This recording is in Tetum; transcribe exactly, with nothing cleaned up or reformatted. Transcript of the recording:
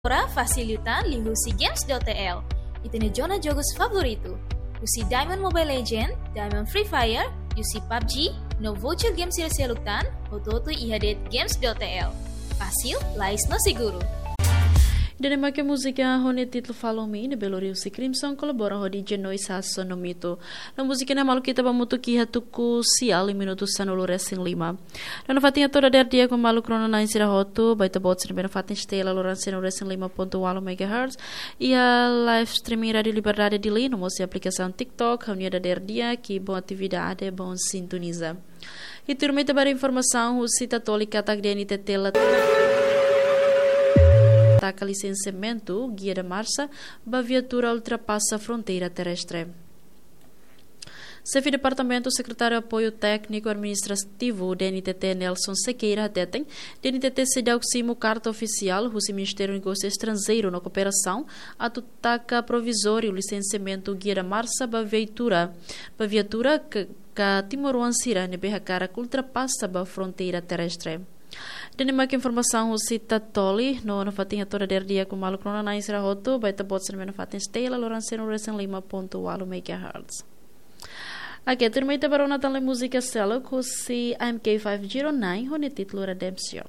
Agora fasil liután liuhusi games dot T L. Ita-nia zona jogus favoritu. Husi Diamond Mobile Legend, Diamond Free Fire, husi PUBG, no voucher games sira seluk tan, hotu-hotu iha de'it games dot T L. Fasil, lais no seguru. Ida-ne'e mak múzika ho nia títulu Follow Me, ne'ebé lori husi Crimson, kolabora ho D J Noise Hasso no Mito. No múzika ne'e maluk ita bá hamutuk iha tuku sia liu minutu sanulu resin lima. No nafatin hato'o dadeer di'ak ba maluk rona-na'in sira hotu, ba ita-boot sira ne'ebé nafatin setia hela loron sanulu resin lima pontu ualu megahertz, iha live streaming Rádio Liberdade Dili, no mós iha aplikasaun TikTok, ha'u-nia dadeer di'ak, bom atividade, bom sintoniza. I tuirmai ita bá haree informasaun husi Tatoli katak D N T T la taka lisensiamentu, guia da marcha, ba viatura ultrapasa fronteira terrestre. Xefe Departamentu Sekretáriu Apoiu Tékniku Administrativu D N T T Nelson Sequeira hateten, D N T T seidauk simu karta ofisiál husi Ministériu Negósiu Estranjeiru no Kooperasaun atu taka provizóriu lisensiamentu guia da marcha ba viatura, ba viatura ka, ka timoroan sira ne'ebé hakarak ultrapasa ba fronteira terrestre. Ida-ne'e mak informasaun husi Tatoli, no nafatin hato'o dadeer di'ak ba maluk rona-na'in sira hotu, ba ita-boot sira ne'ebé nafatin setia hela loron sanulu resin lima pontu ualu megahertz. Oke, tuirmai ita bá rona tan lai múzika seluk husi M K five zero nine, ho nia títulu Redemption.